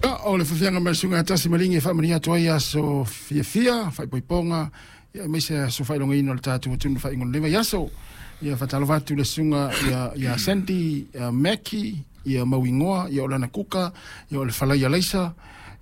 O le faafeaga mai le susuga ia Tasi Maligi e faamanuia atu ai aso fiafia, faaipoipoga, ia aemaise aso faailogaina o le tatou atunuu faaiuga o lenei vaiaso. Ia faatalofa atu le susuga ia Sandy Mackie, ia Mauigoa, ia o lana kuka, ia o le falai alaisa,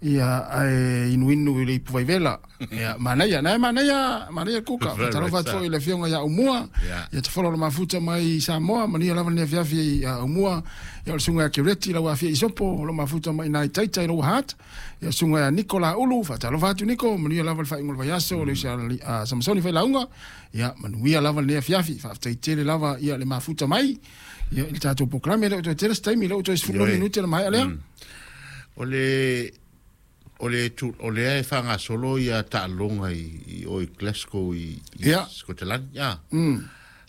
ia ae inuinu i le ipu vaivela. Ia manaia, na e manaia, manaia kuka. Faatalofa atu foi i le afioga ia Aumua, ia tafolo o le mafuta mai i Samoa, manuia lava lenei afiafi ia Aumua, ia o le susuga ia Kereti lau afia Isopo, o lo mafuta mai nai Taita i lou hat, ia susuga ia Niko Ulu, faatalofa atu Niko, manuia lava le faaiuga o le vaiaso, le uso a Samasoni Failauga, ia manuia lava lenei afiafi, faafetai tele lava ia le mafuta mai, ia i le tatou polokalame, le o toe tele se taimi, le o toe 10 minute le maea lea. O lea e faagasolo ia taaloga i o i Glasgow i Scotland. Ia.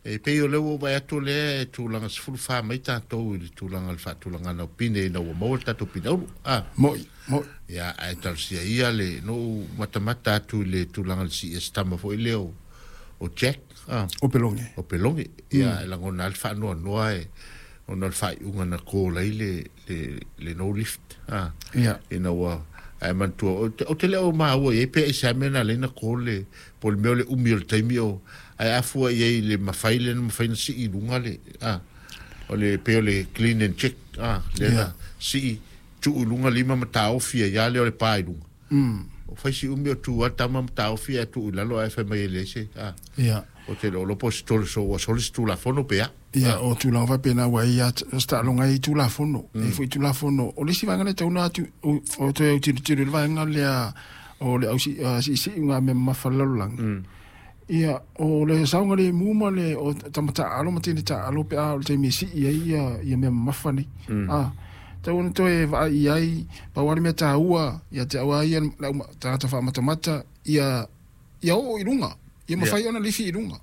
E pei o lea ua vaai atu lea e tulaga 14 mai tatou i le tulaga o le faatulagaga o pine ina ua maua le tatou pine auro. Ah. Moi, moi. Ia, ae talosia ia le no matamata atu i le tulaga o le CS tama foi lea o Jack. Ah. O Pelonge. O Pelonge. Ia, e lagona le faanoanoa e ona o le faaiuga na call ai le no lift. Ah. Ina ua ae manatua o te le o maua i ai pe i se mea na lena call le po le mea o le umi o le taimi o ae afua i ai le mafai le na mafai na sii i luga le o le pe o le clean and check le na sii tuu i luga lima ma taofi ai ia le o le pa i luga. O fai si umi o tu a tama ma taofi e tuu i lalo ae fai mai e le se o te lo po se tole so ua soli se tulafono pe a. Ia, o tulaga faapena ua ia taaloga ai tulafono. E foi tulafono. O le isi vaega lea tauna atu, o toe autilotilo i le vaega lea o le au siisii ngā mea mamafa le lalolagi. Ia, o le saoga le mu ma le o tama taalo ma teine taalo pe a o le taimi e sii ai ia mea mamafa nei. Ah, tau ona toe vaai i ai, pau lava le mea taua, ia te au lava ia le au tagata faamatamata, ia oo i luga, ia mafai ona lifi i luga.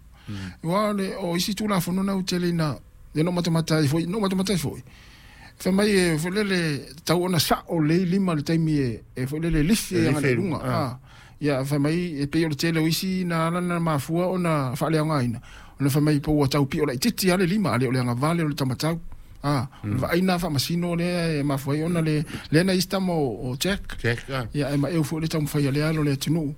Aua o isi tulafono na ua tele ina, ia no matamata ai foi, no matamata ai foi. Fai mai e foi lele tau ona sao lelei lima le taimi e foi lele lifi ai agai i luga. Ah. Ia fai mai e pei o le tele o isi na ala na mafua ona faaleaogaina. Ona fai mai po ua tau pio laitiiti lava le lima, a le o le agavale o le tamatau. Ah, o le vaai faamasino lea e mafua ai ona le lea na isi tama o Jack. Jack, ah. Ia e maeu foi le taumafai a lea alo le atunuu.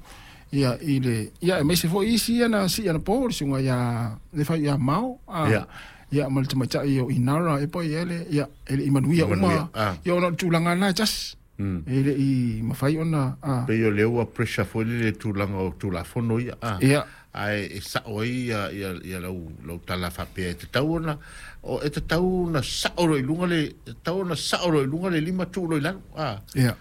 Ia i le ia e maise foi isi ia na sii anapo le susuga ia le fai ia Mao. Ah. Ia ma le tamaitai o Inara e po i ele ia e le i manuia uma. Ia ona o le tulaga na e tasi. E le i mafai ona Pei o lea ua pressure foi le tulaga o tulafono ia. Ah. Ae e sao ai ia lau tala faapea e tatau ona o e tatau ona sao loa i luga le e tatau ona sao loa i luga le lima tuu loa i lalo. Ah.